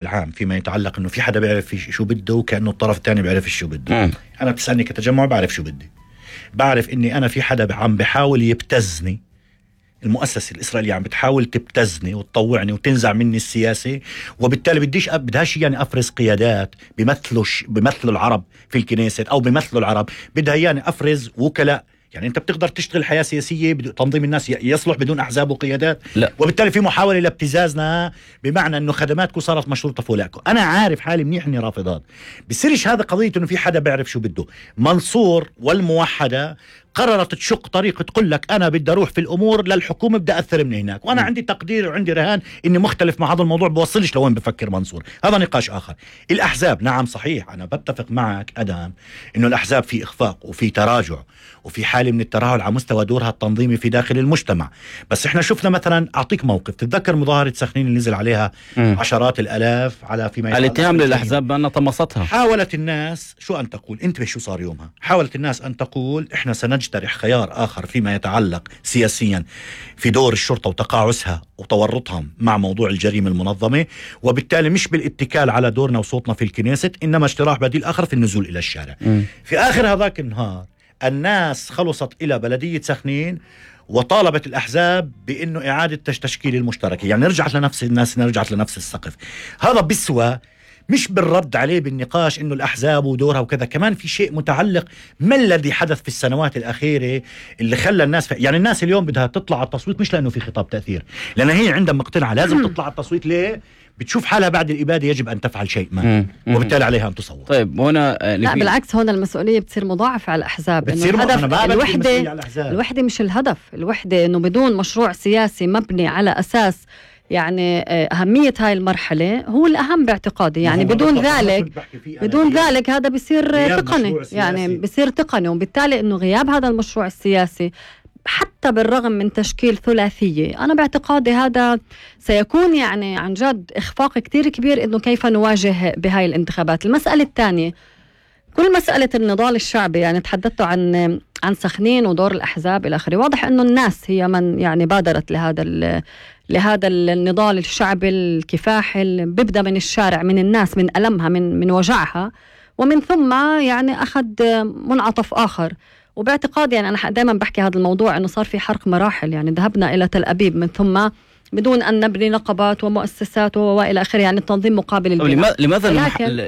العام فيما يتعلق انه في حدا بيعرف شو بده وكأنه الطرف الثاني بيعرف شو بده. انا بتسألني كتجمع بعرف شو بدي، بعرف اني انا في حدا عم بحاول يبتزني، المؤسسة الإسرائيلية عم بتحاول تبتزني وتطوعني وتنزع مني السياسة، وبالتالي بدهاش يعني أفرز قيادات بيمثلوا العرب في الكنيسة أو بيمثلوا العرب، بدها يعني أفرز وكلاء. يعني أنت بتقدر تشتغل حياة سياسية تنظيم الناس يصلح بدون أحزاب وقيادات؟ لا. وبالتالي في محاولة لابتزازنا بمعنى أنه خدماتكم صارت مشروطة فولاكم. أنا عارف حالي منيح إني رافضات، بصيرش هذا قضية إنه في حدا بيعرف شو بده. منصور والموحدة قررت تشق طريق تقول لك أنا بدي أروح في الأمور للحكومة، بدي أثر من هناك، وأنا عندي تقدير وعندي رهان إني مختلف مع هذا الموضوع، بوصلش لوين بفكر منصور، هذا نقاش آخر. الأحزاب نعم صحيح، أنا بتفق معك أدم إنه الأحزاب في إخفاق وفي تراجع وفي حالة من الترهل على مستوى دورها التنظيمي في داخل المجتمع. بس إحنا شفنا مثلا، أعطيك موقف، تتذكر مظاهرة سخنين اللي نزل عليها عشرات الآلاف على فيما الاتهام للأحزاب بأنها طمستها. حاولت الناس شو أن تقول، انتبه شو صار يومها، حاولت الناس أن تقول إحنا سنجترح خيار آخر فيما يتعلق سياسيا في دور الشرطة وتقاعسها وتورطها مع موضوع الجريمة المنظمة، وبالتالي مش بالاتكال على دورنا وصوتنا في الكنيسة، إنما اقتراح بديل آخر في النزول إلى الشارع. في آخر هذاك النهار الناس خلصت إلى بلدية سخنين وطالبت الأحزاب بأنه إعادة تشكيل المشتركة، يعني رجعت لنفس الناس، رجعت لنفس السقف. هذا بسوى مش بالرد عليه بالنقاش انه الاحزاب ودورها وكذا، كمان في شيء متعلق ما الذي حدث في السنوات الاخيره اللي خلى الناس يعني الناس اليوم بدها تطلع على التصويت مش لانه في خطاب تاثير، لان هي عندها مقتنعه لازم تطلع على التصويت. ليه؟ بتشوف حالها بعد الإبادة يجب أن تفعل شيء ما، وبالتالي عليها أن تصوت. طيب هنا لا بالعكس، هنا المسؤولية بتصير مضاعفة على الأحزاب. الوحدة مش الهدف، الوحدة إنه بدون مشروع سياسي مبني على أساس يعني أهمية هاي المرحلة هو الأهم باعتقادي. يعني بدون ذلك هذا بيصير تقني، يعني بيصير تقني، وبالتالي إنه غياب هذا المشروع السياسي حتى بالرغم من تشكيل ثلاثية، أنا باعتقادي هذا سيكون يعني عن جد إخفاق كتير كبير إنه كيف نواجه بهاي الانتخابات. المسألة الثانية، كل مسألة النضال الشعبي، يعني تحدثتوا عن سخنين ودور الأحزاب إلى آخره، واضح إنه الناس هي من يعني بادرت لهذا النضال الشعبي الكفاحي اللي بيبدأ من الشارع، من الناس، من ألمها، من وجعها، ومن ثم يعني أخذ منعطف آخر. وباعتقادي يعني أنا دائما بحكي هذا الموضوع إنه صار في حرق مراحل، يعني ذهبنا إلى تل أبيب من ثم بدون أن نبني نقابات ومؤسسات وإلى آخره، يعني التنظيم مقابل البناء.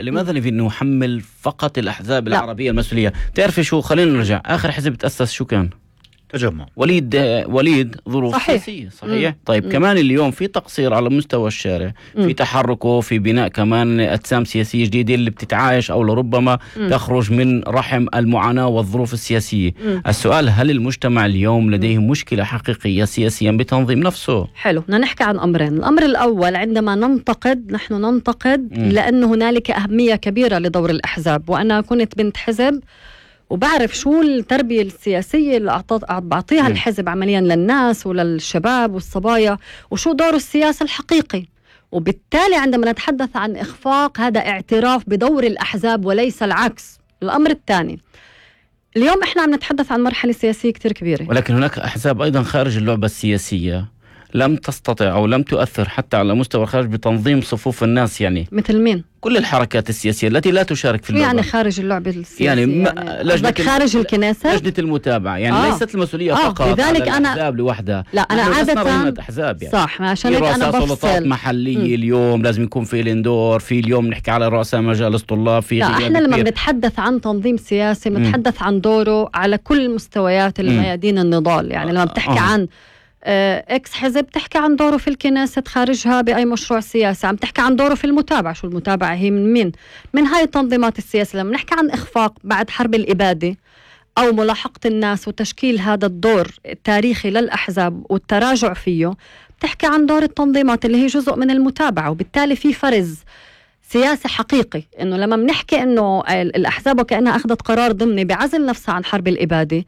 لماذا نحمل فقط الأحزاب العربية المسؤولية؟ تعرف شو، خلينا نرجع، آخر حزب تأسس شو كان؟ تجمع. وليد ظروف سياسية، صحيح. طيب كمان اليوم في تقصير على مستوى الشارع، في تحركه في بناء كمان أجسام سياسية جديدة اللي بتتعايش أو لربما تخرج من رحم المعاناة والظروف السياسية. السؤال، هل المجتمع اليوم لديه مشكلة حقيقية سياسيا بتنظيم نفسه؟ حلو، بدنا نحكي عن أمرين. الأمر الأول، عندما نحن ننتقد لأن هنالك أهمية كبيرة لدور الأحزاب، وأنا كنت بنت حزب وبعرف شو التربية السياسية اللي بعطيها الحزب عمليا للناس وللشباب والصبايا، وشو دور السياسة الحقيقي. وبالتالي عندما نتحدث عن إخفاق، هذا اعتراف بدور الأحزاب وليس العكس. الأمر الثاني، اليوم إحنا عم نتحدث عن مرحلة سياسية كتير كبيرة، ولكن هناك أحزاب أيضا خارج اللعبة السياسية لم تستطع أو لم تؤثر حتى على مستوى الخارج بتنظيم صفوف الناس. يعني مثل مين؟ كل الحركات السياسية التي لا تشارك في اللعبة. يعني خارج اللعبة السياسية، يعني خارج الكنيسة، لجنة المتابعة، يعني ليست المسؤولية فقط لذلك على الأحزاب لوحدها. لا أنا عادة أحزاب يعني. صح، عشان هيك أنا بفصل. سلطات محلية اليوم لازم يكون في الاندور، في اليوم نحكي على رؤساء مجالس طلاب، في لا إحنا لما بنتحدث عن تنظيم سياسي بنتحدث عن دوره على كل مستويات الميادين النضال. يعني لما بتحكي عن اكس حزب، تحكي عن دوره في الكنيسة خارجها بأي مشروع سياسي، عم تحكي عن دوره في المتابعة. شو المتابعة؟ هي من هاي التنظيمات السياسية. لما نحكي عن إخفاق بعد حرب الإبادة أو ملاحقة الناس وتشكيل هذا الدور التاريخي للأحزاب والتراجع فيه، بتحكي عن دور التنظيمات اللي هي جزء من المتابعة. وبالتالي في فرز سياسي حقيقي، إنه لما بنحكي إنه الأحزاب وكأنها أخذت قرار ضمني بعزل نفسها عن حرب الإبادة،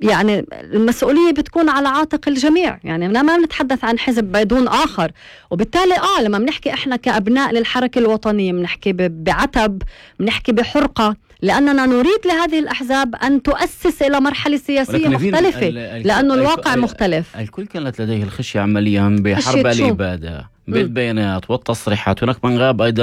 يعني المسؤولية بتكون على عاتق الجميع. يعني ما بنتحدث عن حزب بدون آخر. وبالتالي لما بنحكي إحنا كأبناء للحركة الوطنية بنحكي بعتب، بنحكي بحرقة لأننا نريد لهذه الأحزاب أن تؤسس إلى مرحلة سياسية مختلفة، لأنه الواقع مختلف. الكل كانت لديه الخشية عمليا بحرب الإبادة بالبيانات والتصريحات. هناك من غاب أيضا